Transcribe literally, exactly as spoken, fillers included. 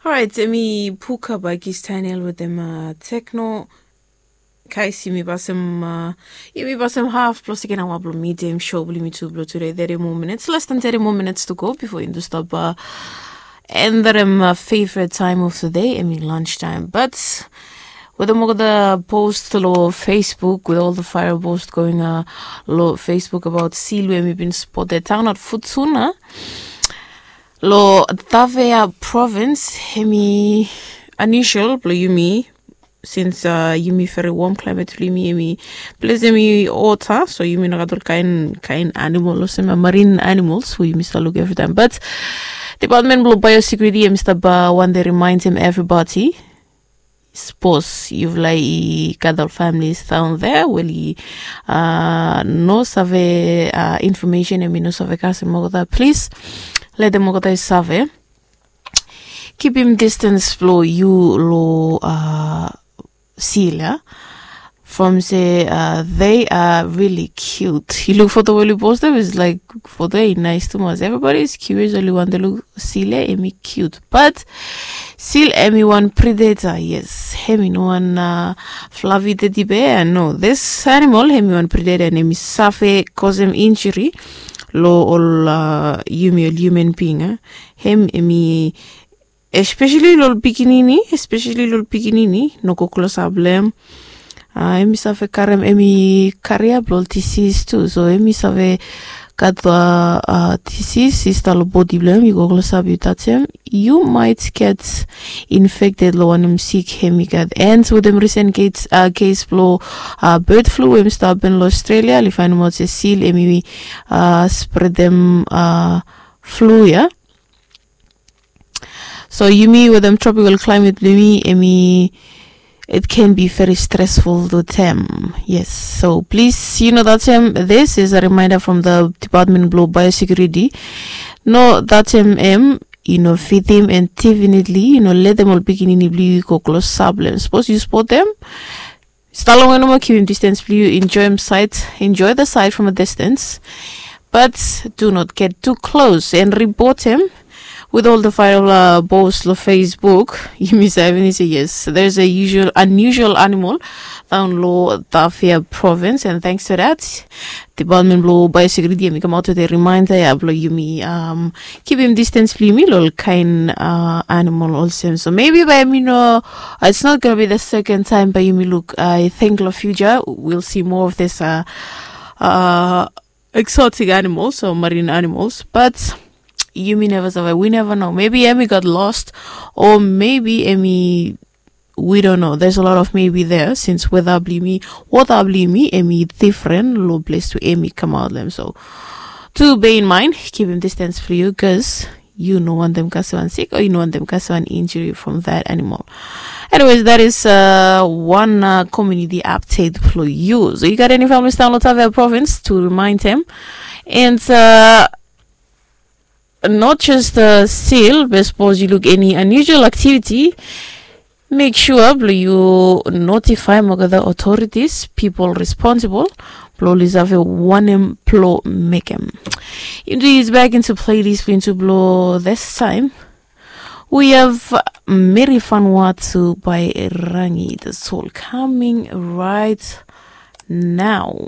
Orait, em i Puka by Kis Daniel wetem uh, Tekno. Guys, yumi pasem uh, yumi pasem half plus again awa blong medium show blong yumi tu blong today. Thirty more minutes, less than thirty more minutes to go before yumi stop uh, and that um, uh, favorite time of the day, em i lunch time. But wetem olgeta post lo Facebook with all the fire post going uh, lo Facebook about seal we em i bin spotted down at Futuna. Lo Tafea province, em i unusual blo yumi since uh, yumi very warm climate blo yumi, em i ples em i ota, so yumi no gat ol kain kain animal olsem uh, marine animals we yumi stap luk every time. But department blo biosecurity em i stap uh, wante remind em everybody, sapos yufala i gat ol families down there we oli uh, no save uh, information em i no save kasem olgeta, plis letem olgeta i save kipim distance blo yu lo uh, seal ya. From se uh, they are really cute. Yu luk foto we oli postem, is like foto ya i nais tumas. Everybody is curious, oli wante luk seal ya, em i cute. But seal em i wan predator, yes. Em i no wan uh, fluffy teddy bear, no. This animal em i wan predator and em i save kosem injury lo ol uh, yumi ol human being. Eh? Em em i especially lo ol pikinini, especially lo ol pikinini, no go klosap lo em. Uh, em i save karem, em i karia blo ol disease tu. So em i save gat uh, uh, disease i stap lo bodi blo em, yu go klosap yu tajem, yu might get infected lo wanem sik em i gat. And wetem recent case, uh, case blo uh, bird flu em i stap hapen lo Australia, oli fainemaot se seal em i uh, spredem uh, flu ya. So yumi wetem tropical climate blo yumi, em i it can be very stressful to them. Yes, so please, you know, tajem, this is a reminder from the Department blo Biosecurity. No tajem em, yu no fidim, and definitely yu no letem ol pikinini blo yu go klosap lo em. Sapos yu spotem, stap longwe nomo, kipim distance blo yu, enjoy em side, enjoy the side from a distance. But do not get too close and report em with all the viral uh, post lo Facebook. Yumi save ni se yes, there's a usual unusual animal down lo Tafea province, and thanks to that, Department blo Biosecurity em i kamaot wetem reminder ya blo yumi um, kipim distance blo yumi lo ol kain uh, animal olsem. So maybe bae yumi no, it's not gonna be the second time bae yumi luk, I think lo future we'll see more of this uh, uh, exotic animals or marine animals. But yumi neva save, we never know. Maybe em i gat lost, or maybe em i, we don't know. There's a lot of maybe there since weta blo yumi, wota blo yumi em i difren lo ples we em i kamaot lo em. So tu bear in mind, kipim distance blo yu, cause yu no wantem kasem wan sik o yu no wantem kasem wan injury from that animal. Anyways, that is uh, one uh, community update blo yu. So yu gat eni families down lo Tafea province, tu remind em. And uh, not just the seal, be sapos yu luk eni unusual activity, make sure blo yu notify olgeta authorities, people responsible, blo oli save wanem blo mekem. Yumi tu use back into playlist blo yumi tu blo this time. We have Mary Vanuatu by Rangi, the soul coming right now.